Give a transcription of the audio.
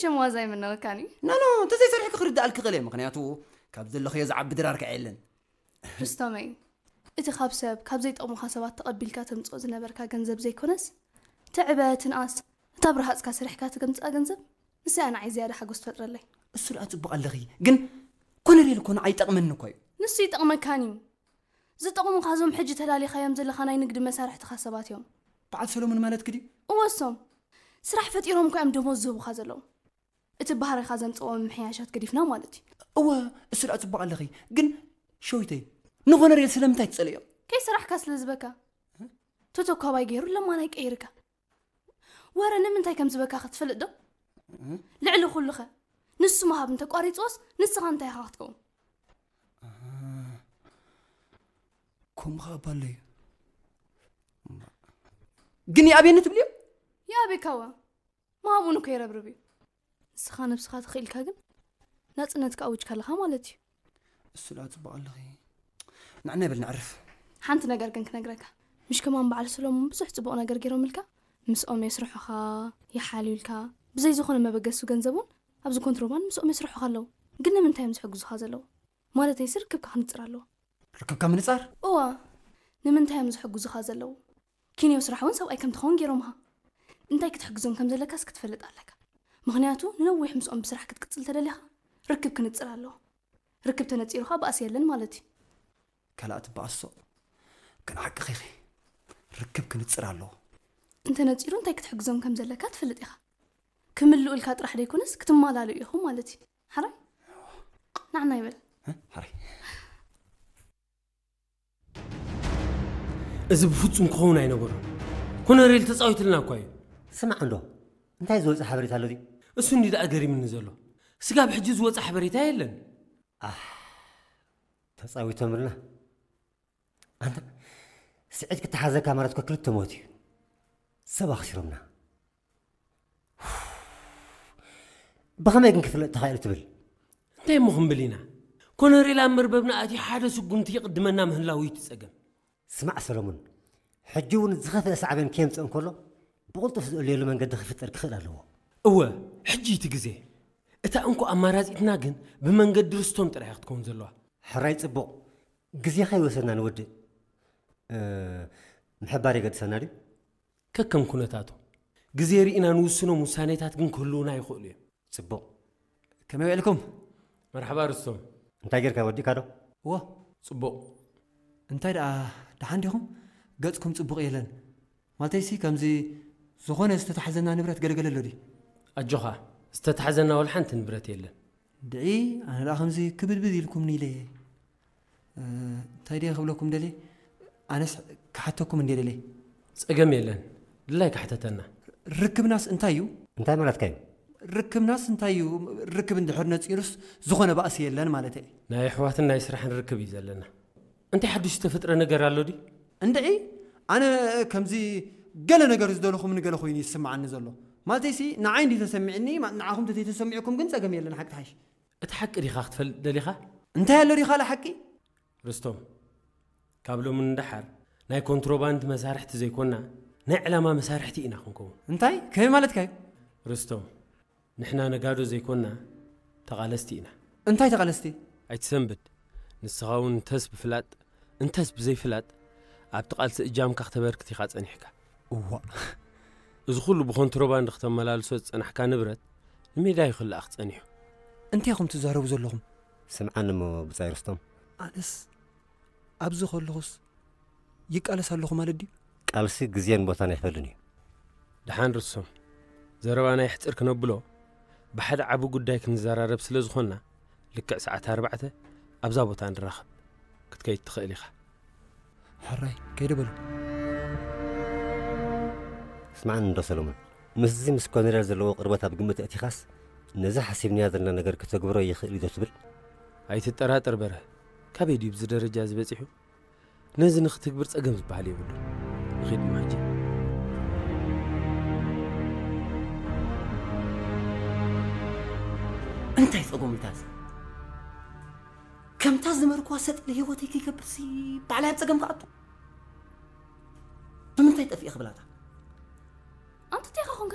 ሽም ዋዛ ኣይምነወካን እዩ። ኖ ኖ፣ እንተዘይሰሪሕኪ ክርድኣልኪ ክእል እየ። ምክንያቱ ካብ ዘለኽዮ ዝዓቢ ድራር ከዓ የለን። ርስቶመይ፣ እቲ ካብ ሰብ ካብ ዘይጠቕሙኻ ሰባት ተቐቢልካ ተምፅኦ ዝነበርካ ገንዘብ ዘይኮነስ፣ ትዕበ ትንኣስ፣ እታ ብረሃፅካ ሰሪሕካ ትገምፅኣ ገንዘብ፣ ንሳ እያ ንዓይ ዝያዳ ሓጎስ ትፈጥረለይ። እሱ ደኣ ፅቡቕ ኣለኺ፣ ግን ኮነሬል እኮ ንዓይ ይጠቕመኒ እኮ እዩ። ንሱ ይጠቕመካን እዩ። ዝጠቕሙኻ እዞም ሕጂ ተላሊኻዮም ዘለኻ ናይ ንግዲ መሳርሕትኻ ሰባት እዮም። በዓል ሰሎሞን ማለትኪ ድዩ? እወሶም ስራሕ ፈጢሮም እኮ እዮም ደሞዝ ዝህቡኻ ዘለዉ። እቲ ባህሪኻ ዘምፅእዎ ምምሕያሻት ገዲፍና ማለት እዩ። እወ፣ እሱ ደኣ ፅቡቕ ኣለኺ፣ ግን ሸዊተይ ንኾነሬል ስለምንታይ ትፀልዮ? ከይሰራሕካ ስለ ዝበካ። ቶቶኳባይ ገይሩ ለማናይ ቀይርካ። ወረ ንምንታይ ከም ዝበካ ክትፈልጥ ዶ? ልዕሊ ኩሉኸ ንሱ ምሃብ እንተቋሪፅዎስ ንስኻ እንታይ ኢኻ ክትከውን? ከምኡ ኸዓ ባለዩ ግን ይኣብየኒ ትብልዮ? ይኣብየካዋ ምሃብኡን እኮ ይረብርብ እዩ። ንስኻ ነብስኻ ተኽኢልካ ግን ናፅነትካ ኣውጅካ ኣለኻ ማለት እዩ። እሱ ደኣ ፅቡቕ ኣለኺ። ንዕና ይበል ነዕርፍ። ሓንቲ ነገር ግን ክነግረካ። ምሽ ከማን በዓል ሰሎሞን ብዙሕ ፅቡቕ ነገር ገይሮምልካ። ምስኦም የስርሑኻ፣ ይሓልዩልካ። ብዘይ ዝኾነ መበገሲ ገንዘብ እውን ኣብዚ ኮንትሮባንድ ምስኦም የስርሑኻ ኣለዉ። ግን ንምንታይ እዮም ዝሕግዙኻ ዘለዉ? ማለተይ ሲ ርክብካ ክንፅር ኣለዎ። ርክብካ ምንፃር? እዋ፣ ንምንታይ እዮም ዝሕግዙኻ ዘለዉ? ኪንዮ ስራሕ እውን ሰብኣይ ከም ትኸውን ገይሮምኻ። እንታይ ክትሕግዞም ከም ዘለካስ ክትፈልጥ ኣለካ። ምኽንያቱ ንነዊሕ ምስኦም ብስራሕ ክትቅፅል ተደሊኻ ርክብ ክንፅር ኣለዎ። ርክብ ተነፂሩኻ ባእሲ የለን ማለት እዩ። ካልኣት በኣሶ ግን ሓቅኺ ኢኺ። ርክብ ክንፅር ኣለዎ። እንተነፂሩ እንታይ ክትሕግዞም ከም ዘለካ ትፈልጥ ኢኻ። ክምልኡልካ ጥራሕ ደይኮነስ ክትማላልኡ ኢኹም ማለት እዩ። ሓራይ ንዓና ይበል። እ? ሓራይ እዚ ብፍጹም ክኸውን ኣይነበሮን። ኮነሬል ተጻዊትልና እኳ እዩ። ስማዕ እንዶ እንታይ ዝወፀ ሓበሬታ ኣሎ ድዩ? እሱ እንዲ ደኣ ገሪምኒ ዘሎ። ስጋብ ሕጂ ዝወፀ ሓበሬታ የለን። ኣሕ ተጻዊቶምልና። ኣንታ ስዒድ ክተሓዘካ ማለት እኮ ክልተ ሞት እዩ። ሰብ ኣኽሲሮምና። ብኸመይ ግን ክፍለጥ ተኻኢሉ ትብል? እንታይ እሞ ክንብል ኢና? ኮነሬል ኣብ መርበብና ኣትዩ ሓደ ስጉምቲ ይቕድመና ምህላው እዩ እቲ ጸገም። ስማዕ ሰሎሙን፣ ሕጂ እውን ዝኸፍአ ሳዕቤን ከየምጽእ እንከሎ ብቕልጡፍ ዝእለየሉ መንገዲ ክፍጠር ክኽእል ኣለዎ። እወ፣ ሕጂ እቲ ግዜ። እታ እንኮ ኣማራጺትና ግን ብመንገዲ ርስቶም ጥራይ እያ ክትከውን ዘለዋ። ሕራይ ጽቡቕ፣ ግዜኻ ይወሰድና ንወድእ። ምሕባር የገድሰና ድዩ? ከከም ኩነታቱ ግዜ ርኢና ንውስኖም ውሳኔታት ግን ክህልዉና ይኽእሉ እዮም። ጽቡቕ። ከመይ ውዕልኩም? መርሓባ ርስቶም። እንታይ ጌርካ ወዲእካ ዶ? እዎ። ጽቡቕ። እንታይ ደኣ ደሓን ዲኹም? ገጽኩም ጽቡቕ የለን። ማለተይሲ ከምዚ ዝኾነ ዝተታሕዘና ንብረት ገለገለ ኣሎ ድዩ? ኣጆኻ ዝተታሕዘና ወላ ሓንቲ ንብረት የለን። ድዒ ኣነ ደኣ ከምዚ ክብድብድ ኢልኩምኒ ኢለ እየ። እንታይ ድየ ክብለኩም ደልየ? ኣነስ ክሓተኩም እንድየ ደልየ። ጸገም የለን። ድላይካ ሕተተና። ርክብናስ እንታይ እዩ? እንታይ ማለትካ እዩ? ርክብናስ እንታይ እዩ? ርክብ እንድሕር ነጺሩስ ዝኾነ ባእሲ የለን ማለተይ እየ። ናይ ኣሕዋትን ናይ ስራሕን ርክብ እዩ ዘለና። እንታይ ሓድሽ ዝተፈጥረ ነገር ኣሎ ድዩ? እንድዒ ኣነ ከምዚ ገለ ነገር ዝደለኹምኒ ገለ ኮይኑ እዩ ዝስምዓኒ ዘሎ። ማለተይሲ ንዓይ እንድዩ ተሰሚዕኒ፣ ንዓኹም ተዘይተሰሚዕኩም ግን ጸገም የለን፣ ሓቂ ትሓይሽ። እቲ ሓቂ ዲኻ ክትፈልጥ ደሊኻ? እንታይ ኣሎ ዲኻ ለሓቂ? ርስቶም፣ ካብ ሎሚ ንደሓር ናይ ኮንትሮባንድ መሳርሕቲ ዘይኮና ናይ ዕላማ መሳርሕቲ ኢና ክንከውን። እንታይ? ከመይ ማለትካ እዩ? ርስቶም፣ ንሕና ነጋዶ ዘይኮና ተቓለስቲ ኢና። እንታይ ተቓለስቲ? ኣይትሰንብድ። ንስኻ እውን እንተስ ብፍላጥ እንተስ ብዘይፍላጥ ኣብቲ ቃልሲ እጃምካ ክተበርክት ኢኻ ጸኒሕካ። እዋእ! እዚ ኩሉ ብኮንትሮባንድ ክተመላልሶ ዝጸናሕካ ንብረት ንሜዳ እዩ ክልኣኽ ጸኒሑ። እንታይ ኢኹም ትዛረቡ ዘለኹም? ስምዓኒ እሞ ብጻይ ርስቶም። ኣነስ ኣብዚ ከለኹስ ይቃለስ ኣለኹ ማለት ድዩ? ቃልሲ ግዜን ቦታን ኣይፈልን እዩ። ደሓን ርስቶም። ዘረባና የሕጽር ክነብሎ ብሓደ ዓቢ ጉዳይ ክንዘራረብ ስለ ዝኾንና ልክዕ ሰዓት ኣርባዕተ ኣብዛ ቦታ ንራኸብ። ክትከይድ ትኽእል ኢኻ። ሕራይ ከይደ በሉ። ስምዓኒ እንዶ ሰሎሞን፣ ምስዚ ምስ ኮነርያል ዘለዎ ቅርበት ኣብ ግምት ኣእቲኻስ ነዚ ሓሲብናዮ ዘለና ነገር ክተግብሮ ይኽእል እዩ ዶ ትብል? ኣይትጠራጠር በርሀ፣ ካበይ ድዩ ብዚ ደረጃ እዚ በጺሑ? ነዚ ንኽትግብር ጸገም ዝበሃል የብሉን። ንኺድ ማጂ። እንታይ ጸገም ኢልካ እዚ? ከምታ ዝመርኩዋ ሰጥ ኢለ ህይወተይ ከይገብርሲ ባዕላይ ኣብ ጸገም ክኣቱ? ብምንታይ ጠፊኤ ክብላታ? ኣንተ እንታይ ኢኻ ኮንካ